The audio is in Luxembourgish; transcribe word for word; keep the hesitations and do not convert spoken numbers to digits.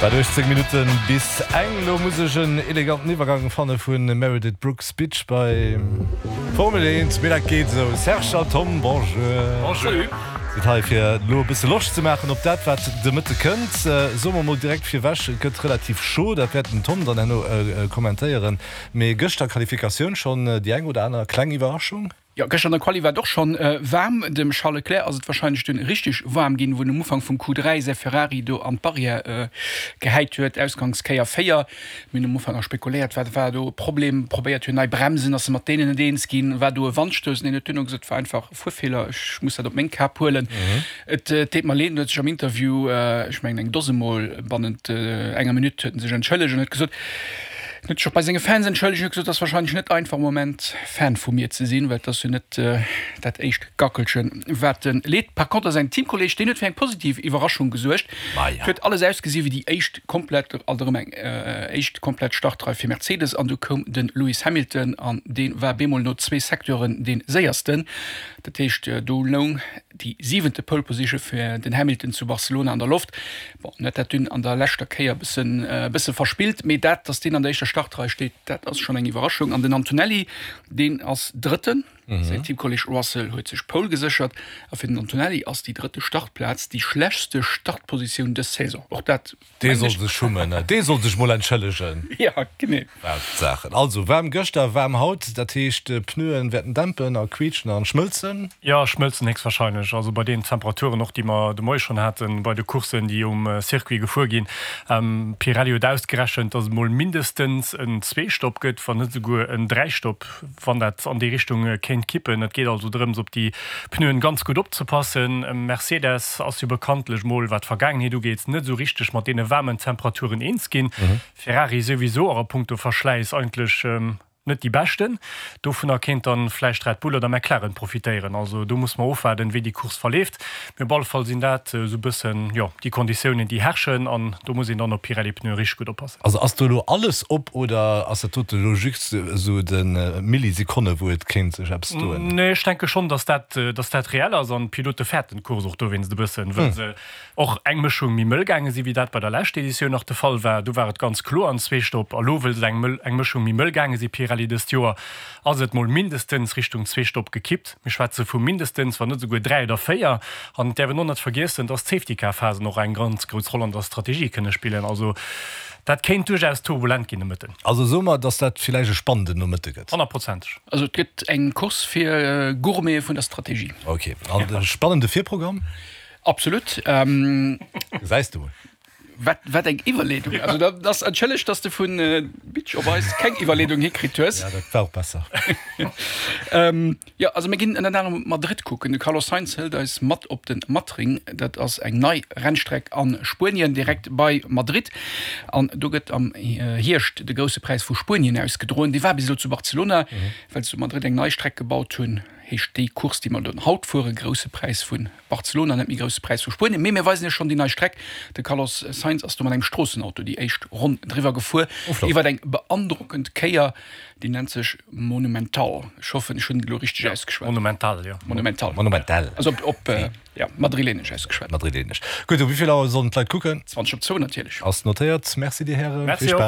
Wat uechtzéng Minutten bis eng. Lo muss ech en eleganten Iwwergang fanne vu Meredith Brooks Bitch bei Formel eent, mee dat geet esou. Serge a Tom, bonjour. Bonjour. Sidd hei fir elo e bësse Loscht ze maachen op dat wat de Mëtte kënnt. Soe mer mol direkt virwech, et gëtt relativ chaud, dat wäert den Tom dann herno kommentéieren. Mee gëschter Qualifikatioun schonn déi eng oder aner kleng Iwwerraschung? Jo, gëschter an der Quali war et och schonn waarm. Dem Charles Leclerc ass et warscheinlech dunn richteg waarm ginn, wou en um Ufank vum Q dräi säi Ferrari do an d'Barrière gehäit huet, Ausgangskéier véier. Mir hunn um Ufank nach spekuléiert, wat war do e Problem, probéiert hunn nei Bremsen, ass e mat deenen net eens ginn, war do e Wandstouss? Neen, huet duerno gesot, war einfach e Fuerfeeler, ech muss dat op meng Kap huelen. Et deet mer leed. En huet sech am Interview, ech mengen eng Dose Mol bannent enger Minutt huet en sech entschëllegt an huet gesot, En huet sech och bei senge Fans entschëllegt an huet gesot, et ass warscheinlech net einfach am Moment Fan vu mir ze sinn, well et ass jo net dat éischt Gackelchen, wat e leet. Par conter säin Teamkolleeg, deen huet fir eng positiv Iwwerraschung gesuergt. Et huet alles ausgesi wéi déi éischt komplett, alt erëm eng éischt komplett Startrei fir Mercedes an du koum de Lewis Hamilton an dee war bemol no zwee Secteuren dee séiersten. Dat heescht, do loung déi siwente Pole Position fir den Hamilton zu Barcelona an der Loft. Bon, en huet dat dunn an der leschter Kéier e bëssen, e bësse verspillt, mee dat, datt deen an der éischter Startrei steet, dat ass schonn eng Iwwerraschung. An den Antonelli, deen ass Drëtten. Säin Teamkolleeg Russell huet sech d'Pole geséchert. A fir den Antonelli ass déi drëtte Startplaz déi schlechtste Startpositioun dës Saison. Och dat. Dee soll sech schummen, dee soll sech mol entschëllegen. Ja, genee. Wat Saachen. Also, waarm gëschter, waarm haut, dat heescht, d'Pneuen wäerten dämpen a quietschen an schmëlzen? Jo, schmëlzen héchstwahrscheinlech. Also bei deenen Temperaturen och, déi mer de Moie schonn haten, bei de Courssen, déi um Circuit gefuer ginn. Pirelli huet ausgerechent, datt et mol mindestens en Zwee-Stopp gëtt, wann net esouguer en Dräi-Stopp, wann dat an déi Richtung kéint kippen. Et geet also drëms, op déi Pneuen ganz gutt opzepassen. Mercedes ass jo bekanntlech mol, wat d'Vergaangenheet ugeet, net esou richteg mat deene waarmen Temperaturen eens ginn. Ferrari souwisou och a punkto Verschläiss eigentlech net déi beschten. Dovunner kéint dann vläicht Red Bull oder McLaren profitéieren. Also do muss mer ofwaarden, wéi déi Course verleeft. Mee op alle Fall sinn dat esou e bëssen, jo, déi Konditiounen, déi herrschen an do muss een dann op Pirelli-Pneue richteg gutt oppassen. Also ass do elo alles op oder ass dat dote elo just esou de Millisekonne wou et kéint sech eppes doen? Nee, ech denke schonn, datt dat, datt dat reell ass an d'Pilote fäerten d'Course och dowéinst e bëssen, wëll se och eng Mëschung méi mëll gaange sinn, wéi dat bei der leschter Editioun nach de Fall war. Do war et ganz kloer an zwee Stopp. A lo, wëll se eng mëll, eng Mëschung méi mëll gaange sinn, Pirelli dëst Joer, ass et mol mindestens Richtung zwee Stopp gekippt. Mir schwätze vu mindestens, wann net esouguer dräi oder véier. An et däerf een och net vergiessen, dass d'Safety-Car-Phasen och eng ganz grouss Roll an der Strategie kënne spillen. Also dat kéint duerchaus turbulent ginn de Mëtten. Also soe mer, dass dat villäicht e spannenden Nomëtte gëtt. Honnertprozenteg. Also et gëtt eng Course fir Gourmete vun der Strategie. Ok. An e spannende Virprogramm? Absolut. Gesäis de mol. Wat, wat eng Iwwerleedung! Also dat ass, entschëlleg, dass de vun Bitch op eis keng Iwwerleedung hikritt hues. Ja, dat war och besser. Jo, also mir ginn ënnert anerem op Madrid kucken. De Carlos Sainz hëlt eis mat op de Matring. Dat ass eng nei Rennstreck a Spuenien, direkt bei Madrid. An do gëtt am Hierscht de Grousse Präis vu Spuenien ausgedroen. Dee war bis elo zu Barcelona. Well se zu Madrid eng nei Streck gebaut hunn, heescht déi Course, déi mer dann haut fueren, Grousse Präis vu Barcelona, net méi Grousse Präis vu Spuenien. Mee mir weisen Iech schonn déi nei Streck. De Carlos Sainz ass do mat engem Stroossenauto déi éischt Ronn driwwer gefuer, iwwer eng beandrockend Kéier, déi nennt sech Monumental. Ech hoffen, ech hunn et elo richteg ausgeschwat. Monumental, jo. Monumental. Monumental. Also op, ja, madrilenesch ausgeschwat. Madrilenesch. Gutt, um wéi vill Auer sollen d'Leit kucken? Zwanzeg op zwou natierlech. Ass notéiert. Merci dir Hären. Merci Vill och. Spaass.